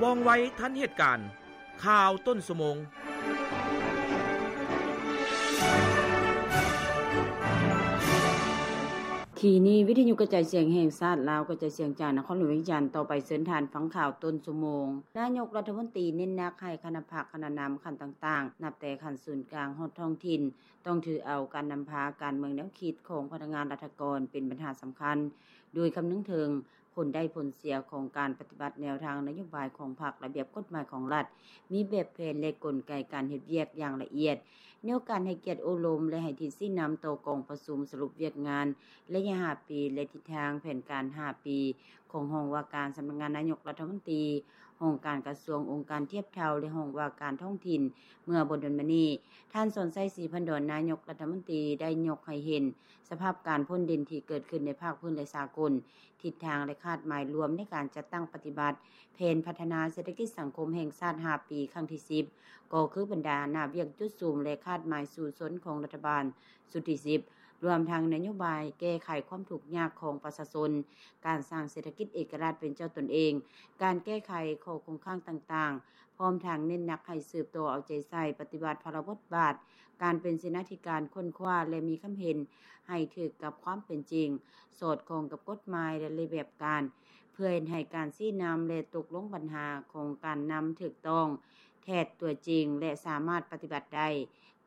ວ່ອງໄວທັນເຫດການ. ຂ່າວຕົ້ນຊົ່ວໂມງ. ທີ່ນີ້ ວິທະຍຸກະຈາຍສຽງແຫ່ງຊາດລາວ ກະຈາຍສຽງຈາກນະຄອນຫຼວງວຽງຈັນ. ຕໍ່ໄປເຊີນທ່ານຟັງຂ່າວຕົ້ນຊົ່ວໂມງ. ນາຍົກລັດຖະມົນຕີເນັ້ນໜັກໃຫ້ຄະນະພັກຄະນະນຳຂັ້ນຕ່າງໆ ນັບແຕ່ຂັ້ນສູນກາງຮອດທ້ອງຖິ່ນ ຕ້ອງຖືເອົາການນຳພາການເມືອງແນວຄິດຂອງພະນັກງານລັດຖະກອນເປັນບັນຫາສຳຄັນ ໂດຍຄຳນຶງເຖິງ ຜົນໄດ້ຜົນເສຍຂອງການປະຕິບັດແນວທາງນະໂຍບາຍຂອງພັກ, ລະບຽບກົດໝາຍຂອງລັດ, ມີແບບແຜນ ແລະ ກົນໄກການເຮັດວຽກຢ່າງລະອຽດ, ແນວການໃຫ້ກຽດໂອ້ລົມ ແລະ ໃຫ້ທິດຊີ້ນຳຕໍ່ກອງປະຊຸມສະຫຼຸບວຽກງານໄລຍະຫ້າປີ ແລະ ທິດທາງແຜນການຫ້າປີຂອງຫ້ອງວ່າການສຳນັກງານນາຍົກລັດຖະມົນຕີ, ຫ້ອງການກະຊວງ, ອົງການທຽບເທົ່າ ແລະ ຫ້ອງວ່າການທ້ອງຖິ່ນ ເມື່ອບໍ່ດົນມານີ້. ທ່ານ ສອນໄຊ ສີພັນດອນ ນາຍົກລັດຖະມົນຕີ ໄດ້ຍົກໃຫ້ເຫັນສະພາບການພົ້ນເດັ່ນທີ່ເກີດຂຶ້ນໃນພາກພື້ນ ແລະ ສາກົນ, ທິດທາງ ແລະ ຄາດໝາຍລວມໃນການຈັດຕັ້ງປະຕິບັດແຜນພັດທະນາເສດຖະກິດສັງຄົມແຫ່ງຊາດຫ້າປີຄັ້ງທີສິບ ກໍຄືບັນດາໜ້າວຽກຈຸດສຸມ ແລະ ຄາດໝາຍສູ້ຊົນຂອງລັດຖະບານຊຸດທີສິບ ລວມທັງນະໂຍບາຍແກ້ໄຂຄວາມທຸກຍາກຂອງປະຊາຊົນ, ການສ້າງເສດຖະກິດເອກະລາດເປັນເຈົ້າຕົນເອງ, ການແກ້ໄຂຂໍ້ຄົງຄ້າງຕ່າງໆ, ພ້ອມທັງເນັ້ນໜັກໃຫ້ສືບຕໍ່ເອົາໃຈໃສ່ປະຕິບັດພາລະບົດບາດ ການເປັນເສນາທິການຄົ້ນຄວ້າ ແລະ ມີຄຳເຫັນໃຫ້ຖືກກັບຄວາມເປັນຈິງ, ສອດຄ່ອງກັບກົດໝາຍ ແລະ ລະບຽບການ, ເພື່ອເຮັດໃຫ້ການຊີ້ນຳ ແລະ ຕົກລົງບັນຫາຂອງການນຳຖືກຕ້ອງ, ແທດຕົວຈິງ ແລະ ສາມາດປະຕິບັດໄດ້.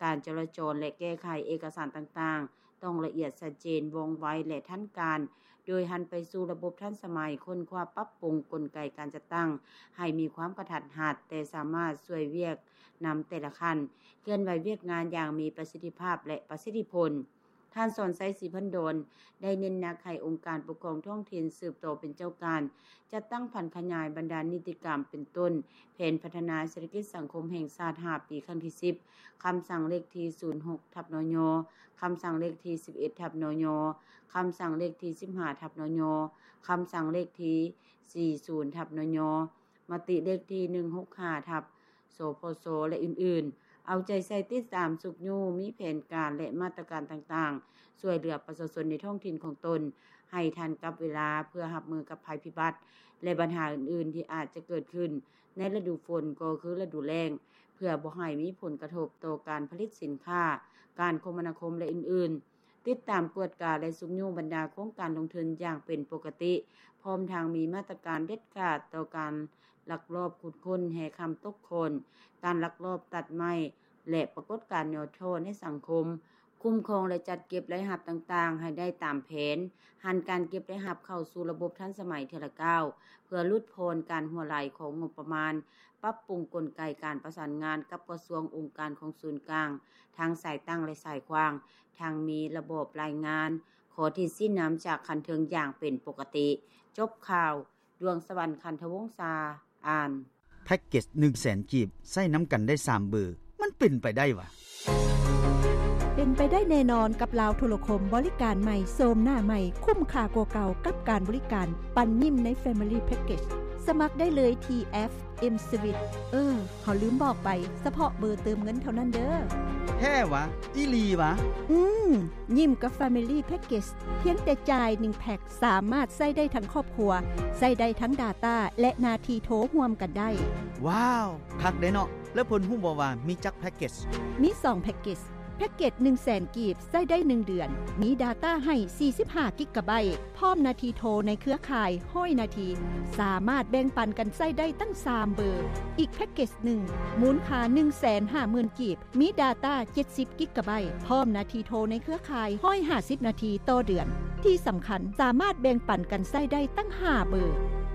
ການຈະລາຈອນ ແລະ ແກ້ໄຂເອກະສານຕ່າງໆ ຕ້ອງລະອຽດຊັດເຈນ, ວ່ອງໄວ ແລະ ທັນການ, ໂດຍຫັນໄປສູ່ລະບົບທັນສະໄໝ, ຄົ້ນຄວ້າປັບປຸງກົນໄກການຈັດຕັ້ງໃຫ້ມີຄວາມກະທັດຮັດ, ແຕ່ສາມາດຊ່ວຍວຽກນຳແຕ່ລະຂັ້ນ, ເຄື່ອນໄຫວວຽກງານຢ່າງມີປະສິດທິພາບ ແລະ ປະສິດທິຜົນ. ທ່ານ ສອນໄຊ ສີພັນດອນ ໄດ້ເນັ້ນໜັກໃຫ້ອົງການປົກຄອງທ້ອງຖິ່ນສືບຕໍ່ເປັນເຈົ້າການ ຈັດຕັ້ງຜັນຂະຫຍາຍບັນດານິຕິກຳ ເປັນຕົ້ນ ແຜນພັດທະນາເສດຖະກິດສັງຄົມແຫ່ງຊາດຫ້າປີຄັ້ງທີສິບ, ຄຳສັ່ງເລກທີສູນຫົກທັບ ນຍ, ຄຳສັ່ງເລກທີສິບເອັດທັບ ນຍ, ຄຳສັ່ງເລກທີສິບຫ້າທັບ ນຍ, ຄຳສັ່ງເລກທີສີ່ສູນທັບ ນຍ, ມະຕິເລກທີໜຶ່ງຫົກຫ້າທັບ ສພສ ແລະ ອື່ນໆ, ເອົາໃຈໃສ່ຕິດຕາມ, ຊຸກຍູ້, ມີແຜນການ ແລະ ມາດຕະການຕ່າງໆ ຊ່ວຍເຫຼືອປະຊາຊົນໃນທ້ອງຖິ່ນຂອງຕົນໃຫ້ທັນກັບເວລາ ເພື່ອຮັບມືກັບໄພພິບັດ ແລະ ບັນຫາອື່ນໆທີ່ອາດຈະເກີດຂຶ້ນໃນລະດູຝົນ ກໍຄືລະດູແລ້ງ ເພື່ອບໍ່ໃຫ້ມີຜົນກະທົບຕໍ່ການຜະລິດສິນຄ້າ, ການຄົມມະນາຄົມ ແລະ ອື່ນໆ. ຕິດຕາມກວດກາ ແລະ ຊຸກຍູ້ບັນດາໂຄງການລົງທຶນຢ່າງເປັນປົກກະຕິ, ພ້ອມທັງມີມາດຕະການເດັດຂາດຕໍ່ການລັກລອບຂຸດຄົ້ນແຮ່ຄຳຕົກໂຄ່ນ, ການລັກລອບຕັດໄມ້ ແລະ ປາກົດການຫຍໍ້ທໍ້ໃນສັງຄົມ, ຄຸ້ມຄອງ ແລະ ຈັດເກັບລາຍຮັບຕ່າງໆໃຫ້ໄດ້ຕາມແຜນ, ຫັນການເກັບລາຍຮັບເຂົ້າສູ່ລະບົບທັນສະໄໝເທື່ອລະກ້າວ ເພື່ອຫຼຸດຜ່ອນການຮົ່ວໄຫຼຂອງງົບປະມານ, ປັບປຸງກົນໄກການປະສານງານກັບກະຊວງ, ອົງການຂອງສູນກາງ ທັງສາຍຕັ້ງ ແລະ ສາຍຂວາງ, ທັງມີລະບອບລາຍງານ, ຂໍທິດຊີ້ນຳຈາກຂັ້ນເທິງຢ່າງເປັນປົກກະຕິ. ຈົບຂ່າວ. ດວງສະຫວັນ ຄັນທະວົງສາ ອ່ານ. ແພັກເກັດໜຶ່ງແສນກີບ ໃຊ້ນຳກັນໄດ້ສາມເບີ ມັນເປັນໄປໄດ້ຫວາ? ເປັນໄປໄດ້ແນ່ນອນກັບລາວໂທລະຄົມ ບໍລິການໃໝ່ ໂສມໜ້າໃໝ່ ຄຸ້ມຄ່າກວ່າເກົ່າກັບການບໍລິການປັນຍິ້ມໃນ Family Package. ສະໝັກໄດ້ເລີຍທີ່ແອັບ M-Switch. ເອີ ເຮົາລືມບອກໄປ, ສະເພາະເບີເຕີມເງິນເທົ່ານັ້ນເດີ້. ແທ້ຫວາ? ອີ່ຫຼີຫວາ? ອືມ, ຍິ້ມກັບ Family Package ພຽງແຕ່ຈ່າຍໜຶ່ງແພັກ ສາມາດໃຊ້ໄດ້ທັງຄອບຄົວ, ໃຊ້ໄດ້ທັງ Data ແລະ ໜ້າທີ່ໂທຮ່ວມກັນໄດ້. ວ້າວ, ຄັກເດ້ເນາະ. ແລ້ວເພິ່ນຮູ້ບໍ່ວ່າມີຈັກແພັກເກັດ? ມີສອງແພັກເກັດ. ແພັກເກັດໜຶ່ງແສນກີບ ໃຊ້ໄດ້ໜຶ່ງເດືອນ, ມີ Data ໃຫ້ສີ່ສິບຫ້າກິກກະໄບ, ພ້ອມໜ້າທີ່ໂທໃນເຄືອຂ່າຍຮ້ອຍນາທີ, ສາມາດແບ່ງປັນກັນໃຊ້ໄດ້ຕັ້ງສາມເບີ. ອີກແພັກເກັດໜຶ່ງ ມູນຄ່າໜຶ່ງແສນຫ້າໝື່ນກີບ, ມີ Data ເຈັດສິບກິກກະໄບ, ພ້ອມໜ້າທີ່ໂທໃນເຄືອຂ່າຍຮ້ອຍຫ້າສິບນາທີຕໍ່ເດືອນ. ທີ່ສຳຄັນ, ສາມາດແບ່ງປັນກັນໃຊ້ໄດ້ຕັ້ງຫ້າເບີ.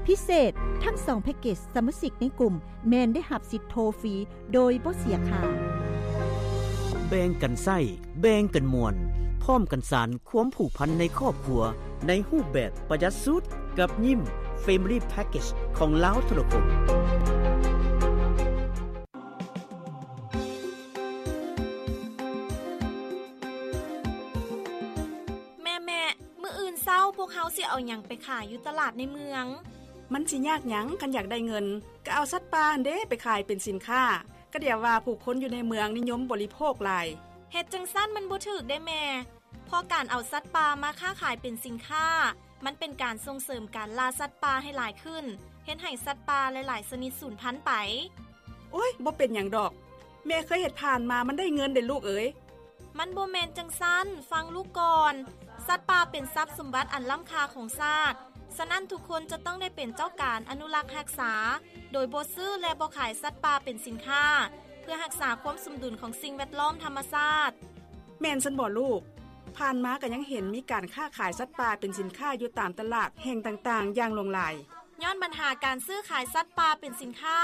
ພິເສດ, ທັງສອງແພັກເກັດ, ສະມາຊິກໃນກຸ່ມແມ່ນໄດ້ຮັບສິດໂທຟຣີໂດຍບໍ່ເສຍຄ່າ. ແບ່ງກັນໃຊ້, ແບ່ງກັນມ່ວນ, ພ້ອມກັນສານຄວາມຜູກພັນໃນຄອບຄົວ ໃນຮູບແບບປະຢັດສຸດ ກັບຍິ້ມ Family Package ຂອງລາວໂທລະຄົມ. ແມ່ໆ ມື້ອື່ນເຊົ້າພວກເຮົາຊິເອົາຫຍັງໄປຂາຍຢູ່ຕະຫຼາດໃນເມືອງ? ມັນຊິຍາກຫຍັງ ຄັນຢາກໄດ້ເງິນ ກໍເອົາສັດປ່າຫັ້ນເດ້ໄປຂາຍເປັນສິນຄ້າ. ກະດຽວວ່າຜູ້ຄົນຢູ່ໃນເມືອງນິຍົມບໍລິໂພກຫຼາຍ. ເຮັດຈັ່ງຊັ້ນມັນບໍ່ຖືກເດ້ແມ່, ເພາະການເອົາສັດປ່າມາຄ້າຂາຍເປັນສິນຄ້າ ມັນເປັນການສົ່ງເສີມການລ່າສັດປ່າໃຫ້ຫຼາຍຂຶ້ນ, ເຮັດໃຫ້ສັດປ່າຫຼາຍໆຊະນິດສູນພັນໄປ. ໂອ້ຍ ບໍ່ເປັນຫຍັງດອກ. ແມ່ເຄີຍເຮັດຜ່ານມາ ມັນໄດ້ເງິນເດ້ລູກເອີຍ. ມັນບໍ່ແມ່ນຈັ່ງຊັ້ນ, ຟັງລູກກ່ອນ. ສັດປ່າເປັນຊັບສົມບັດອັນລ້ຳຄ່າຂອງຊາດ, ສະນັ້ນທຸກຄົນຈະຕ້ອງໄດ້ເປັນເຈົ້າການອະນຸລັກຮັກສາ, ໂດຍບໍ່ຊື້ ແລະ ບໍ່ຂາຍສັດປ່າເປັນສິນຄ້າ, ເພື່ອຮັກສາຄວາມສົມດຸນຂອງສິ່ງແວດລ້ອມທຳມະຊາດ. ແມ່ນຊັ້ນບໍລູກ? ຜ່ານມາກໍຍັງເຫັນມີການຄ້າຂາຍສັດປ່າເປັນສິນຄ້າຢູ່ຕາມຕະຫຼາດແຫ່ງຕ່າງໆຢ່າງຫຼວງຫຼາຍ. ຍ້ອນບັນຫາການຊື້ຂາຍສັດປ່າເປັນສິນຄ້າ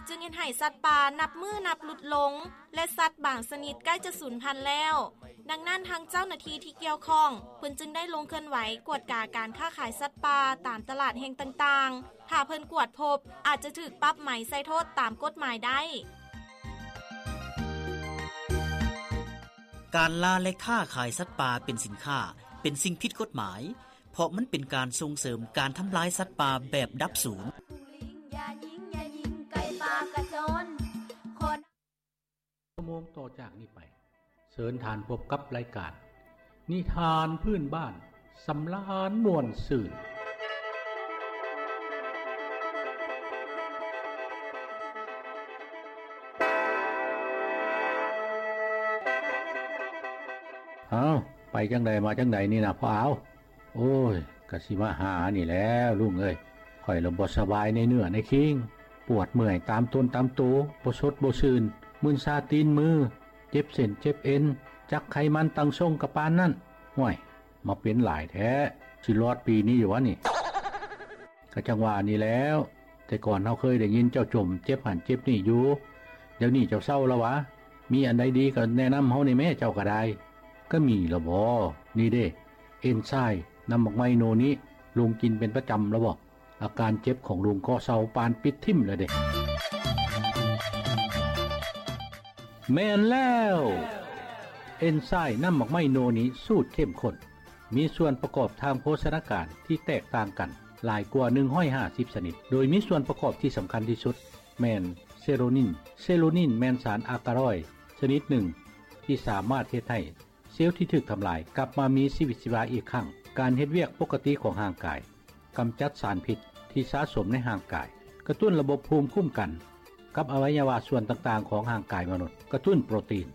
ຈຶ່ງເຮັດໃຫ້ສັດປ່ານັບມື້ນັບຫຼຸດລົງ ແລະ ສັດບາງຊະນິດໃກ້ຈະສູນພັນແລ້ວ. ດັ່ງນັ້ນ ທາງເຈົ້າໜ້າທີ່ທີ່ກ່ຽວຂ້ອງ ເພິ່ນຈຶ່ງໄດ້ລົງເຄື່ອນໄຫວກວດກາການຄ້າຂາຍສັດປ່າຕາມຕະຫຼາດແຫ່ງຕ່າງໆ. ຖ້າເພິ່ນກວດພົບ ອາດຈະຖືກປັບໃໝໃສ່ໂທດຕາມກົດໝາຍໄດ້. ການລ່າ ແລະ ຄ້າຂາຍສັດປ່າເປັນສິນຄ້າ ເປັນສິ່ງຜິດກົດໝາຍ, ເພາະມັນເປັນການສົ່ງເສີມການທຳລາຍສັດປ່າແບບດັບສູນ. ຊົ່ວໂມງຕໍ່ຈາກນີ້ໄປ, ເຊີນທ່ານພົບກັບລາຍການນິທານພື້ນບ້ານ ສຳລານມ່ວນຊື່ນ. ອ້າວ ໄປຈັ່ງໃດມາຈັ່ງໃດນີ້ນະພໍ່ອາວ? ໂອ້ຍ ກະຊິມາຫານີ້ແຫຼະລຸງເອີຍ, ຂ້ອຍລະບໍ່ສະບາຍໃນເນື້ອໃນຄີງ, ປວດເມື່ອຍຕາມຕົນຕາມໂຕ, ບໍ່ສົດບໍ່ຊື່ນ, ມຶນຊາຕີນມື, ເຈັບເສັ້ນເຈັບເອັນ, ຈັກໄຂມັນຕັ້ງຊົງກະປານນັ້ນ. ຫ້ວຍ ມາເປັນຫຼາຍແທ້, ຊິລອດປີນີ້ຢູ່ຫວານີ້? ກະຈັ່ງວ່ານີ້ແຫຼ້ວ, ແຕ່ກ່ອນເຮົາເຄີຍໄດ້ຍິນເຈົ້າຈົ່ມເຈັບຫັ້ນເຈັບນີ້ຢູ່, ດຽວນີ້ເຈົ້າເຊົາລະຫວາ? ມີອັນໃດດີກະແນະນຳເຮົາແດ່ແມ້ ເຈົ້າກະໄດ້. ກະມີລະບໍ? ນີ້ເດ້ ເອັນຊາຍນ້ຳໝາກໄມ້ໂນນິ, ລຸງກິນເປັນປະຈຳລະບໍ? ອາການເຈັບຂອງລຸງກໍເຊົາປານປິດຖິ້ມລະເດ້. ແມ່ນແລ້ວ ເອັນຊາຍນ້ຳໝາກໄມ້ໂນນິສູດເຂັ້ມຂຸ້ນ ມີສ່ວນປະກອບທາງໂພຊະນາການທີ່ແຕກຕ່າງກັນຫຼາຍກວ່າໜຶ່ງຮ້ອຍຫ້າສິບຊະນິດ, ໂດຍມີສ່ວນປະກອບທີ່ສຳຄັນທີ່ສຸດແມ່ນເຊໂຣນິນ. ເຊໂຣນິນແມ່ນສານອາກາລອຍຊະນິດໜຶ່ງ ທີ່ສາມາດເຮັດໃຫ້ ເຊວທີ່ຖືກທຳລາຍກັບມາມີຊີວິດຊີວາອີກຄັ້ງ, ການເຮັດວຽກປົກກະຕິຂອງຮ່າງກາຍ, ກຳຈັດສານພິດທີ່ສະສົມໃນຮ່າງກາຍ, ກະຕຸ້ນລະບົບພູມຄຸ້ມກັນກັບອະໄວຍະວະສ່ວນຕ່າງໆຂອງຮ່າງກາຍມະນຸດ, ກະຕຸ້ນໂປຣຕີນ,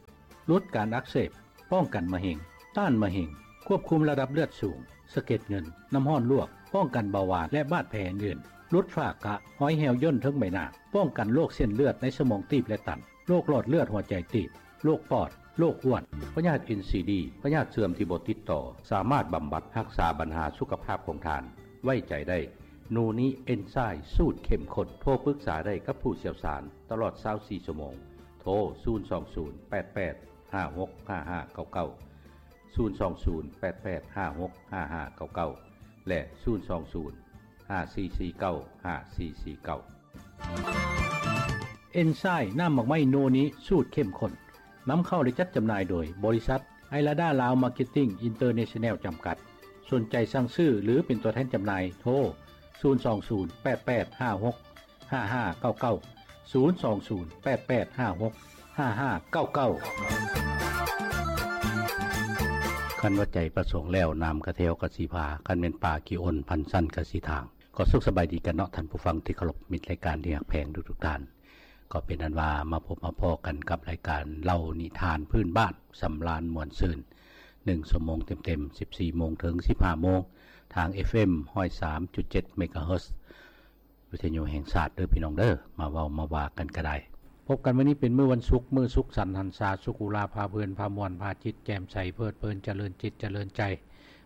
ຫຼຸດການອັກເສບ, ປ້ອງກັນມະເຮັງ, ຕ້ານມະເຮັງ, ຄວບຄຸມລະດັບເລືອດສູງ, ສະເກັດເງິນ, ນ້ຳຮ້ອນລວກ, ປ້ອງກັນເບົາຫວານ ແລະ ບາດແຜອື່ນໆ, ຫຼຸດຝ້າກະ, ຮອຍແຫ້ວຍ່ນເທິງໃບໜ້າ, ປ້ອງກັນໂລກເສັ້ນເລືອດໃນສະໝອງຕີບ ແລະ ຕັນ. ໂລກຫຼອດເລືອດຫົວໃຈຕີບ, ໂລກປອດ, ໂລກອ້ວນ, ພະຍາດເອັນຊີດີ, ພະຍາດເຊື່ອມທີ່ບໍ່ຕິດຕໍ່, ສາມາດບຳບັດຮັກສາບັນຫາສຸຂະພາບຂອງທ່ານ. ໄວ້ໃຈໄດ້ ໂນນິເອັນຊາຍສູດເຂັ້ມຂຸ້ນ. ໂທປຶກສາໄດ້ກັບຜູ້ຊ່ຽວຊານຕະຫຼອດຊາວສີ່ຊົ່ວໂມງ. ໂທ ສູນສອງສູນ ແປດແປດ ຫ້າຫົກ ຫ້າຫ້າເກົ້າເກົ້າ, ສູນສອງສູນ ແປດແປດ ຫ້າຫົກ ຫ້າຫ້າເກົ້າເກົ້າ ແລະ ສູນສອງສູນ ຫ້າສີ່ສີ່ເກົ້າ ຫ້າສີ່ສີ່ເກົ້າ. ເອັນຊາຍນ້ຳໝາກໄມ້ໂນນິສູດເຂັ້ມຂຸ້ນ ນຳເຂົ້າ ແລະ ຈັດຈຳໜ່າຍໂດຍບໍລິສັດ ໄອລາດາລາວມາເກັດຕິ້ງອິນເຕີເນຊັນແນວຈຳກັດ. ສົນໃຈສັ່ງຊື້ ຫຼື ເປັນຕົວແທນຈຳໜ່າຍ ໂທ ສູນສອງສູນ ແປດແປດ ຫ້າຫົກ ຫ້າຫ້າເກົ້າເກົ້າ, ສູນສອງສູນ ແປດແປດ ຫ້າຫົກ ຫ້າຫ້າເກົ້າເກົ້າ. ຄັນວ່າໃຈປະສົງແລ້ວ ນ້ຳກະແທວກະຊິພາ, ຄັນແມ່ນປາຂີ້ອົນ ພັນຊັ້ນກະຊິທາງ. ກໍສຸກສະບາຍດີກັນເນາະ ທ່ານຜູ້ຟັງທີ່ເຄົາລົບ, ມິດລາຍການທີ່ຮັກແພງທຸກໆທ່ານ. ກໍເປັນອັນວ່າມາພົບມາພໍ້ກັນກັບລາຍການເລົ່ານິທານພື້ນບ້ານ ສຳລານມ່ວນຊື່ນ ໜຶ່ງຊົ່ວໂມງເຕັມໆ ສິບສີ່ໂມງເຖິງສິບຫ້າໂມງ ທາງ ເອັຟເອັມ ຮ້ອຍສາມຈຸດເຈັດ ເມກາເຮີດ ວິທະຍຸແຫ່ງຊາດເດີພີ່ນ້ອງເດີ. ມາເວົ້າມາວ່າກັນກະໄດ້. ພົບກັນມື້ນີ້ເປັນມື້ວັນສຸກ, ມື້ສຸກສັນຫັນສາ, ສຸກອຸລາ, ພາເພີນ, ພາມ່ວນ, ພາຈິດແຈ່ມໃສ, ເພີດເພີນ, ຈະເລີນຈິດຈະເລີນໃຈ.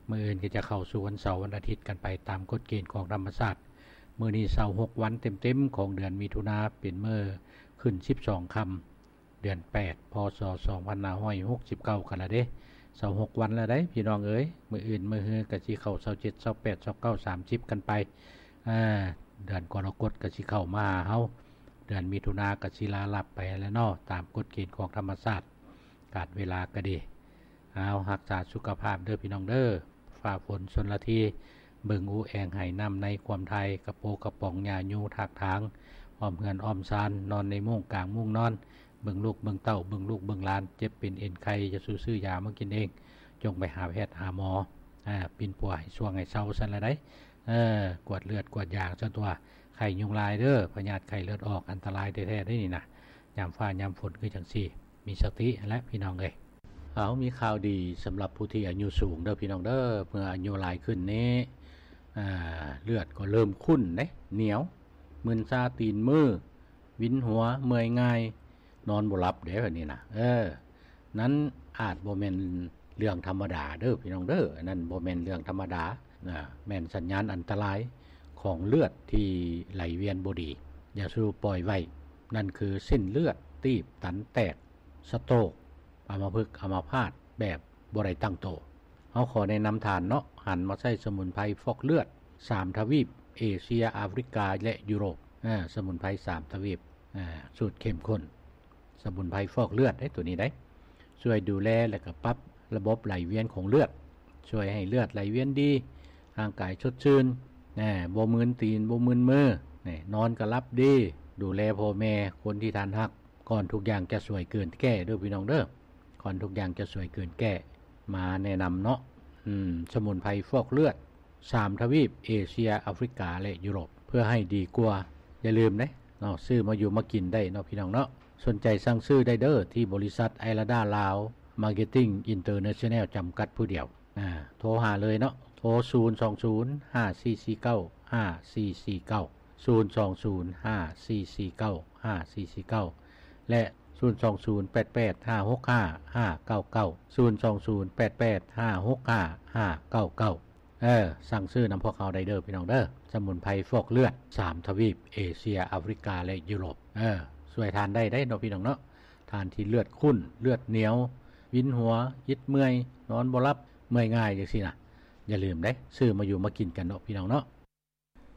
ມື້ອື່ນກໍຈະເຂົ້າສູ່ວັນເສົາ, ວັນອາທິດກັນໄປຕາມກົດເກນຂອງທຳມະຊາດ. ມື້ນີ້ຊາວຫົກວັນເຕັມໆຂອງເດືອນມິຖຸນາ, ເປັນມື້ຂຶ້ນສິບສອງຄ່ຳ ເດືອນແປດ ພ.ສ. ສອງພັນຫ້າຮ້ອຍຫົກສິບເກົ້າກັນລະເດ້. ຊາວຫົກວັນລະໄດ໋ພີ່ນ້ອງເອີຍ. ມື້ອື່ນມື້ຮືກໍຊິເຂົ້າຊາວເຈັດ ຊາວແປດ ຊາວເກົ້າ ສາມສິບກັນໄປ. ເດືອນກໍລະກົດກໍຊິເຂົ້າມາຫາເຮົາ, ເດືອນມິຖຸນາກໍຊິລາລັບໄປແລ້ວເນາະ ຕາມກົດເກນຂອງທຳມະຊາດ. ການເວລາກໍດີ. ເອົາ ຮັກສາສຸຂະພາບເດີພີ່ນ້ອງເດີ. ຟ້າຝົນຊົນລະທີ, ເບິ່ງອູແອງໄຮ່ນ້ຳໃນຄວາມໄທ, ກະໂປກະປ໋ອງຫຍ້າຍູຖາກຖາງ, ອ້ອມເຮືອນອ້ອມຊານ, ນອນໃນມຸ້ງກາງມຸ້ງນອນ, ເບິ່ງລູກເບິ່ງເຕົ້າ, ເບິ່ງລູກເບິ່ງຫຼານ, ເຈັບເປັນເອັນໄຄ, ຢ່າສູ່ຊື້ຢາມາກິນເອງ, ຈົ່ງໄປຫາແພດຫາໝໍ, ປິ່ນປົວໃຫ້ຊ່ວງໃຫ້ເຊົາຊັ້ນລະໄດ໋. ເອີ ກວດເລືອດກວດຢາຊັ້ນຕົວະ. ໄຄ ໄຂ້ຍຸງລາຍເດີ້ ພະຍາດໄຂ້ເລືອດອອກ ອັນຕະລາຍແທ້ໆເດ້ນີ້ນະ. ຍາມຟ້າຍາມຝົນຄືຈັ່ງຊີ້ ມີສະຕິຫັ້ນແຫຼະພີ່ນ້ອງເອີຍ. ເອົາ ມີຂ່າວດີສຳລັບຜູ້ທີ່ອາຍຸສູງເດີ້ພີ່ນ້ອງເດີ້. ເມື່ອອາຍຸຫຼາຍຂຶ້ນນີ້ ອ່າ ເລືອດກໍເລີ່ມຂຸ້ນເດ້ ໜຽວ ມຶນຊາຕີນມື ວິນຫົວ ເມື່ອຍງ່າຍ ນອນບໍ່ຫຼັບເດ້ ແບບນີ້ນະ. ເອີ ນັ້ນອາດບໍ່ແມ່ນເລື່ອງທຳມະດາເດີ້ພີ່ນ້ອງເດີ້. ອັນນັ້ນບໍ່ແມ່ນເລື່ອງທຳມະດານະ ແມ່ນສັນຍານອັນຕະລາຍຂອງເລືອດທີ່ໄຫຼວຽນບໍ່ດີ. ຢ່າສູ່ປ່ອຍໄວ້. ນັ້ນຄືເສັ້ນເລືອດຕີບຕັນແຕກ, ສະໂຕກ, ອຳມະພຶກ, ອຳມະພາດແບບບໍ່ໄດ້ຕັ້ງໂຕ. ເຮົາຂໍແນະນຳທ່ານເນາະ ຫັນມາໃຊ້ສະໝຸນໄພຟອກເລືອດສາມທະວີບ ເອເຊຍ, ອາຟຣິກາ ແລະ ຢູໂຣບ. ອາ ສະໝຸນໄພສາມທະວີບ ອາ ສູດເຂັ້ມຂຸ້ນ ສະໝຸນໄພຟອກເລືອດເດ້ ໂຕນີ້ເດ້. ຊ່ວຍດູແລ ແລະ ກໍປັບລະບົບໄຫຼວຽນຂອງເລືອດ, ຊ່ວຍໃຫ້ເລືອດໄຫຼວຽນດີ, ຮ່າງກາຍສົດຊື່ນ, ແນ່ ບໍ່ມຶນຕີນ ບໍ່ມຶນມື, ແນ່ ນອນກໍຫຼັບດີ. ດູແລພໍ່ແມ່, ຄົນທີ່ທ່ານຮັກ, ກ່ອນທຸກຢ່າງຈະສວຍເກີນແກ້ເດີ້ພີ່ນ້ອງເດີ້. ກ່ອນທຸກຢ່າງຈະສວຍເກີນແກ້ ມາແນະນຳເນາະ. ອືມ ສະໝຸນໄພຟອກເລືອດ ສາມທະວີບ ເອເຊຍ, ອາຟຣິກາ ແລະ ຢູໂຣບ ເພື່ອໃຫ້ດີກວ່າ. ຢ່າລືມເດ້ເນາະ ຊື້ມາຢູ່ມາກິນໄດ້ເນາະ ພີ່ນ້ອງເນາະ. ສົນໃຈສັ່ງຊື້ໄດ້ເດີ້ ທີ່ບໍລິສັດໄອລາດາລາວ ມາເກັດຕິງ ອິນເຕີເນຊັນແນວ ຈຳກັດຜູ້ດຽວ. ອາ ໂທຫາເລີຍເນາະ ໂທ ສູນສອງສູນ ຫ້າສີ່ສີ່ເກົ້າ ຫ້າສີ່ສີ່ເກົ້າ ສູນສອງສູນ ຫ້າສີ່ສີ່ເກົ້າ ຫ້າສີ່ສີ່ເກົ້າ ແລະ ສູນສອງສູນ ແປດແປດ ຫ້າຫົກຫ້າ ຫ້າເກົ້າເກົ້າ ສູນສອງສູນ ແປດແປດ ຫ້າຫົກຫ້າ ຫ້າເກົ້າເກົ້າ. ເອີ ສັ່ງຊື້ນຳພວກເຮົາໄດ້ເດີ້ ພີ່ນ້ອງເດີ້. ສະໝຸນໄພຟອກເລືອດ ສາມທະວີບ ເອເຊຍ, ອາຟຣິກາ ແລະ ຢູໂຣບ. ເອີ ຊ່ວຍທ່ານໄດ້ເດ້ເນາະ ພີ່ນ້ອງເນາະ. ທ່ານທີ່ເລືອດຂຸ້ນ, ເລືອດໜຽວ, ວິນຫົວ, ອິດເມື່ອຍ, ນອນບໍ່ຫຼັບ, ເມື່ອຍງ່າຍຈັ່ງຊີ້ນະ. ຢ່າລືມເດ້ ຊື້ມາຢູ່ມາກິນກັນເນາະ ພີ່ນ້ອງເນາະ.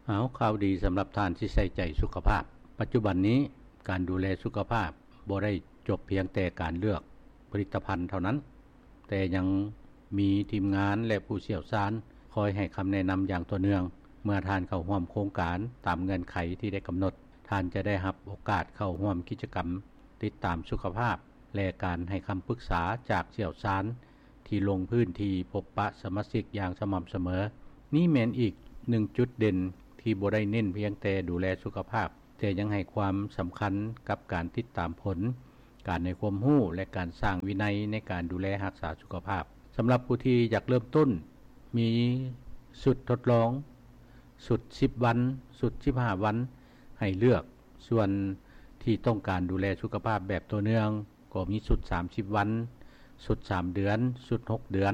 ເອົາ ຂ່າວດີສຳລັບທ່ານທີ່ໃສ່ໃຈສຸຂະພາບ. ປັດຈຸບັນນີ້ ການດູແລສຸຂະພາບບໍ່ໄດ້ຈົບພຽງແຕ່ການເລືອກຜະລິດຕະພັນເທົ່ານັ້ນ, ແຕ່ຍັງມີທີມງານ ແລະ ຜູ້ຊ່ຽວຊານຄອຍໃຫ້ຄຳແນະນຳຢ່າງຕໍ່ເນື່ອງ. ເມື່ອທ່ານເຂົ້າຮ່ວມໂຄງການຕາມເງື່ອນໄຂທີ່ໄດ້ກຳນົດ, ທ່ານຈະໄດ້ຮັບໂອກາດເຂົ້າຮ່ວມກິດຈະກຳຕິດຕາມສຸຂະພາບ ແລະ ການໃຫ້ຄຳປຶກສາຈາກຊ່ຽວຊານ ທີ່ລົງພື້ນທີ່ພົບປະສະມາຊິກຢ່າງສະໝ່ຳສະເໝີ. ນີ້ແມ່ນອີກໜຶ່ງຈຸດເດັ່ນທີ່ບໍ່ໄດ້ເນັ້ນພຽງແຕ່ດູແລສຸຂະພາບ, ແຕ່ຍັງໃຫ້ຄວາມສຳຄັນກັບການຕິດຕາມຜົນ, ການໃຫ້ຄວາມຮູ້ ແລະ ການສ້າງວິໄນໃນການດູແລຮັກສາສຸຂະພາບ. ສຳລັບຜູ້ທີ່ຢາກເລີ່ມຕົ້ນ, ມີຊຸດທົດລອງ, ຊຸດສິບວັນ, ຊຸດສິບຫ້າວັນ ໃຫ້ເລືອກ. ສ່ວນທີ່ຕ້ອງການດູແລສຸຂະພາບແບບຕໍ່ເນື່ອງ, ກໍມີຊຸດສາມສິບວັນ, ຊຸດສາມເດືອນ, ຊຸດຫົກເດືອນ.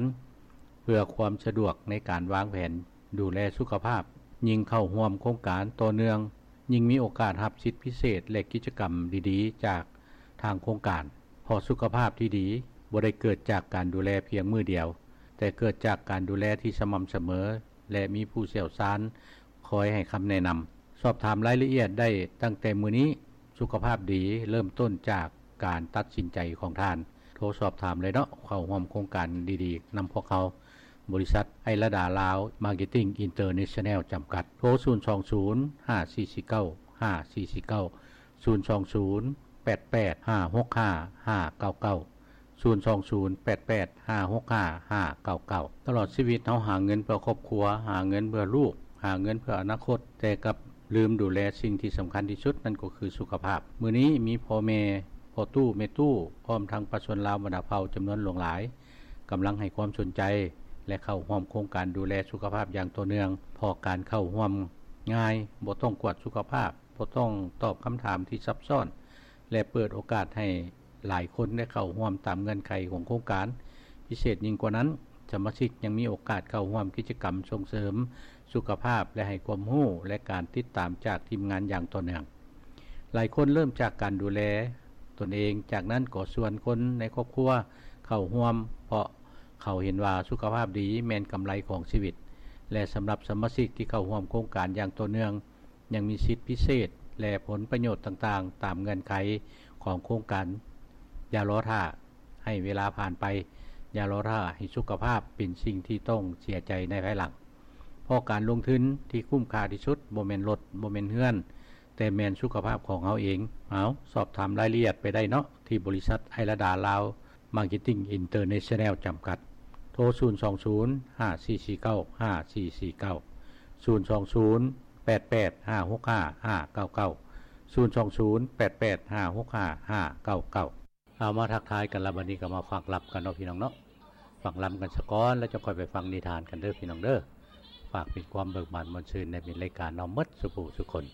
ເພື່ອຄວາມສະດວກໃນການວາງແຜນດູແລສຸຂະພາບ, ຍິ່ງເຂົ້າຮ່ວມໂຄງການຕໍ່ເນື່ອງ, ຍິ່ງມີໂອກາດຮັບສິດພິເສດ ແລະ ກິດຈະກຳດີໆຈາກທາງໂຄງການ. ເພາະສຸຂະພາບທີ່ດີບໍ່ໄດ້ເກີດຈາກການດູແລພຽງມື້ດຽວ, ແຕ່ເກີດຈາກການດູແລທີ່ສະໝ່ຳສະເໝີ ແລະ ມີຜູ້ຊ່ຽວຊານຄອຍໃຫ້ຄຳແນະນຳ. ສອບຖາມລາຍລະອຽດໄດ້ຕັ້ງແຕ່ມື້ນີ້. ສຸຂະພາບດີເລີ່ມຕົ້ນຈາກການຕັດສິນໃຈຂອງທ່ານ. ໂທສອບຖາມເລີຍເນາະ, ເຂົ້າຮ່ວມໂຄງການດີໆນຳພວກເຮົາ, ບໍລິສັດໄອລາດາລາວ ມາເກັດຕິງ ອິນເຕີເນຊັນແນວ ຈຳກັດ. ໂທ ສູນສອງສູນ ຫ້າສີ່ສີ່ເກົ້າ ຫ້າສີ່ສີ່ເກົ້າ, ສູນສອງສູນ ແປດແປດ ຫ້າຫົກຫ້າ ຫ້າເກົ້າເກົ້າ, ສູນສອງສູນ ແປດແປດ ຫ້າຫົກຫ້າ ຫ້າເກົ້າເກົ້າ. ຕະຫຼອດຊີວິດເຮົາຫາເງິນເພື່ອຄອບຄົວ, ຫາເງິນເພື່ອລູກ, ຫາເງິນເພື່ອອະນາຄົດ, ແຕ່ກັບລືມດູແລສິ່ງທີ່ສຳຄັນທີ່ສຸດ, ນັ້ນກໍຄືສຸຂະພາບ. ມື້ນີ້ມີພໍ່ແມ່, ພໍ່ຕູ້, ແມ່ຕູ້, ພ້ອມທັງປະຊາຊົນລາວບັນດາເຜົ່າຈຳນວນຫຼວງຫຼາຍ ກຳລັງໃຫ້ຄວາມສົນໃຈ ແລະ ເຂົ້າຮ່ວມໂຄງການດູແລສຸຂະພາບຢ່າງຕໍ່ເນື່ອງ, ເພາະການເຂົ້າຮ່ວມງ່າຍ, ບໍ່ຕ້ອງກວດສຸຂະພາບ, ບໍ່ຕ້ອງຕອບຄຳຖາມທີ່ຊັບຊ້ອນ ແລະ ເປີດໂອກາດໃຫ້ຫຼາຍຄົນໄດ້ເຂົ້າຮ່ວມຕາມເງື່ອນໄຂຂອງໂຄງການ. ພິເສດຍິ່ງກວ່ານັ້ນ, ສະມາຊິກຍັງມີໂອກາດເຂົ້າຮ່ວມກິດຈະກຳສົ່ງເສີມສຸຂະພາບ ແລະ ໃຫ້ຄວາມຮູ້ ແລະ ການຕິດຕາມຈາກທີມງານຢ່າງຕໍ່ເນື່ອງ. ຫຼາຍຄົນເລີ່ມຈາກການດູແລຕົນເອງ, ຈາກນັ້ນກໍຊວນຄົນໃນຄອບຄົວເຂົ້າຮ່ວມ, ເພາະເຂົາເຫັນວ່າສຸຂະພາບດີແມ່ນກຳໄລຂອງຊີວິດ. ແລະ ສຳລັບສະມາຊິກທີ່ເຂົ້າຮ່ວມໂຄງການຢ່າງຕໍ່ເນື່ອງ, ຍັງມີສິດພິເສດ ແລະ ຜົນປະໂຫຍດຕ່າງໆ ຕາມເງື່ອນໄຂຂອງໂຄງການ. ຢ່າລໍຖ້າໃຫ້ເວລາຜ່ານໄປ, ຢ່າລໍຖ້າໃຫ້ສຸຂະພາບເປັນສິ່ງທີ່ຕ້ອງເສຍໃຈໃນພາຍຫຼັງ, ເພາະການລົງທຶນທີ່ຄຸ້ມຄ່າທີ່ສຸດບໍ່ແມ່ນລົດ, ບໍ່ແມ່ນເຮືອນ, ແຕ່ແມ່ນສຸຂະພາບຂອງເຮົາເອງ. ເອົາ, ສອບຖາມລາຍລະອຽດໄປໄດ້ເນາະ ທີ່ບໍລິສັດໄອລາດາລາວ ມາເກັດຕິງ ອິນເຕີເນຊັນແນວ ຈຳກັດ. ໂທ ສູນສອງສູນ ຫ້າສີ່ສີ່ເກົ້າ ຫ້າສີ່ສີ່ເກົ້າ, ສູນສອງສູນ ແປ ແປດແປດຫ້າຫົກຫ້າຫ້າເກົ້າເກົ້າ ສູນສອງສູນ ແປດແປດຫ້າຫົກຫ້າຫ້າເກົ້າເກົ້າ. ເອົາ ມາທັກທາຍກັນລະ ບັດນີ້ກໍມາຟັງລຳກັນເນາະ ພີ່ນ້ອງເນາະ. ຟັງລຳກັນສາກ່ອນ ແລ້ວຈັ່ງຄ່ອຍໄປຟັງນິທານກັນເດີ ພີ່ນ້ອງເດີ. ຝາກເປັນຄວາມເບີກບານມ່ວນຊື່ນໃນມິດລາຍການເຮົາໝົດສູ່ຜູ້ສູ່ຄົນ.